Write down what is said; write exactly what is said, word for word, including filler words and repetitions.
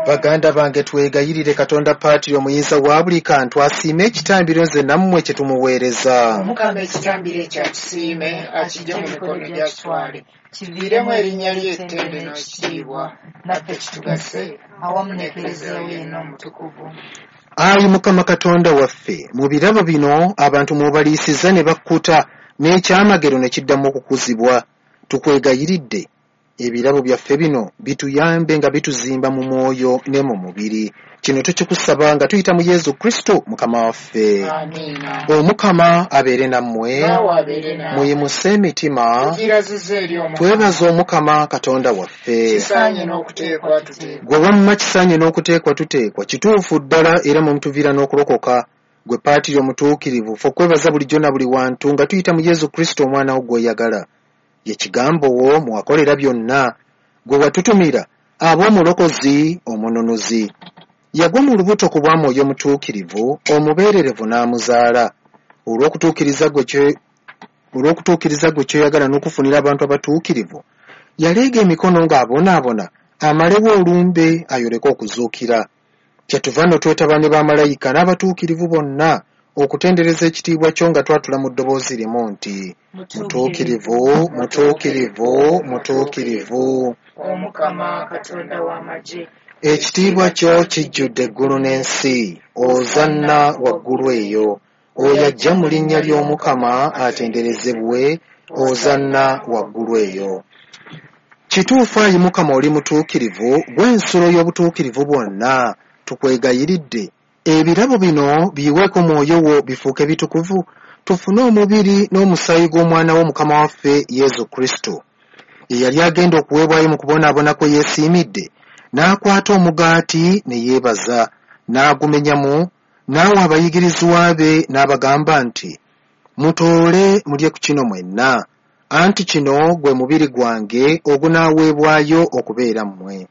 Baganda bange, twegayirire Katonda Paatiri omuyinza wa buli kantu asiime ekitambiro nze nammwe kye tumuweereza. Omukama ekitambiro ekyo akisiime, akijje mu mikono gy'akitwale, kiviiremu erinnya lye ettendo n'ekitiibwa, naffe kitugase awamu n'Ekleziya yenna omutukuvu. Ayi Mukama Katonda waffe, mu birabo bino abantu mw'obaliisizza ne bakkuta, n'ekyamagero ne kiddamu okukuzibwa. Tukwegayiridde ebirabo byaffe bino bituyambe nga bituzimba mu mwoyo ne mu mubiri. Kino tukikusaba nga tuyita mu Yesu Kristo Mukama waffe. Amiina. Omukama abeere nammwe. Naawe abeere naawe. Muyimuse emitima. Tugirazizza eri Omukama. Twebaza Omukama Katonda waffe. Kisaanye n'okuteekwa tuteekwa. Gwe wamma kisaanye n'okuteekwa tuteekwa, kituufu ddala era mwe mutuviira n'okulokoka. Gwe Paatiri omutuukirivu, ffe okwebaza bulijjo na buli wantu nga tuyita mu Yesu Kristo omwana wo gw'oyagala. Ye kigambo wo mwakolera byonna, gwe watutumira ab'omulokozi omununuzi. Yagwa mu lubuto ku bwa Mwoyo Mutuukirivu, omubeererevu n'amuzaala. Olw'okutuukiriza gwe kye olw'okutuukiriza gwe ky'oyagala n'okufunira abantu abatuukirivu, yaleega emikono ng'abonaabona amalewo olumbe ayoleke okuzuukira. Kyetuva nno twetaba ne bamalayika n'abatuukirivu bonna okutendereza ekitiibwa kyo nga twatula mu ddoboozi limu nti, Mutuukirivu, mutuukirivu, mutuukirivu. Omukama Katonda w'amagye. Ekitiibwa kyo kijjudde eggulu n'ensi, Ozanna waggulu eyo. Oyo ajja mu linnya ly'Omukama atenderezebwe, Ozanna waggulu eyo. Kituufu ayi Mukama oli mutuukirivu, ggwe ensulo y'obutuukirivu bwonna, tukwegayiridde. Ebirabo bino biyiweeko mwoyo wo bifuuke bitukuvu, tufune omubiri n'omusaayi gw'omwana wo Mukama waffe Yesu Kristo. Ye yali agenda okuweebwayo mu kubonaabona kwe yeesiimidde, n'akwata omugaati ne yeebaza, n'agumenyamu, n'awa abayigirizwa be n'abagamba nti, Mutoole mulye ku kino mwenna, anti kino gwe mubiri gwange ogunaaweebwayo okubeera mmwe.